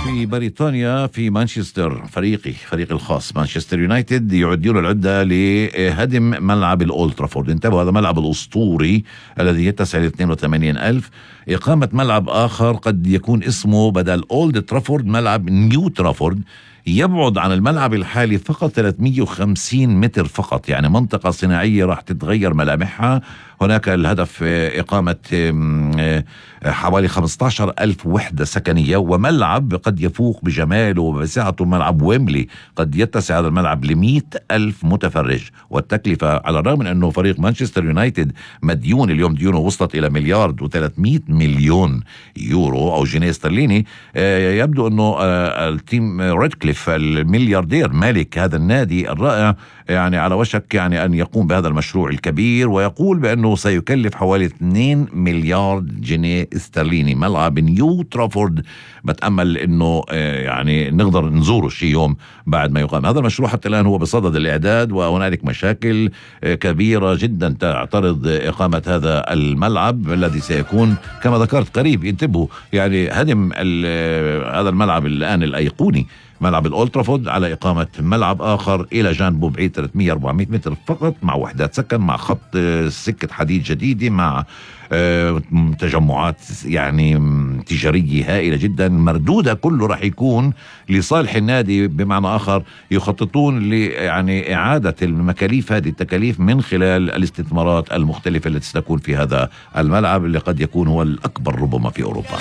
في بريطانيا في مانشستر فريق الخاص مانشستر يونايتد يعدون العدة لهدم ملعب الأولد ترافورد. انتبهوا، هذا ملعب الأسطوري الذي يتسع ل 82,000. إقامة ملعب آخر قد يكون اسمه بدل أولد ترافورد ملعب نيو ترافورد، يبعد عن الملعب الحالي فقط 350 متر فقط، يعني منطقة صناعية راح تتغير ملامحها. هناك الهدف إقامة حوالي 15,000 وحدة سكنية، وملعب قد يفوق بجماله وبسعته ملعب ويمبلي، قد يتسع هذا الملعب ل100,000 متفرج. والتكلفة على الرغم من أنه فريق مانشستر يونايتد مديون اليوم، ديونه وصلت إلى 1,300,000,000 يورو أو جنيه استرليني. يبدو أنه التيم ريدكليف الملياردير مالك هذا النادي الرائع يعني على وشك يعني أن يقوم بهذا المشروع الكبير، ويقول بأنه سيكلف حوالي 2 مليار جنيه استرليني ملعب نيو ترافورد. بتأمل أنه يعني نقدر نزوره شي يوم بعد ما يقام هذا المشروع. حتى الآن هو بصدد الإعداد، وهنالك مشاكل كبيرة جدا تعترض إقامة هذا الملعب الذي سيكون كما ذكرت قريب. انتبهوا، يعني هدم هذا الملعب الآن الأيقوني ملعب الأولد ترافورد على إقامة ملعب آخر إلى جانبه بعيد 300-400 متر فقط، مع وحدات سكن، مع خط سكة حديد جديدة، مع تجمعات يعني تجارية هائلة جدا مردودة. كله راح يكون لصالح النادي، بمعنى آخر يخططون يعني إعادة المكاليف، هذه التكاليف من خلال الاستثمارات المختلفة التي ستكون في هذا الملعب اللي قد يكون هو الأكبر ربما في أوروبا.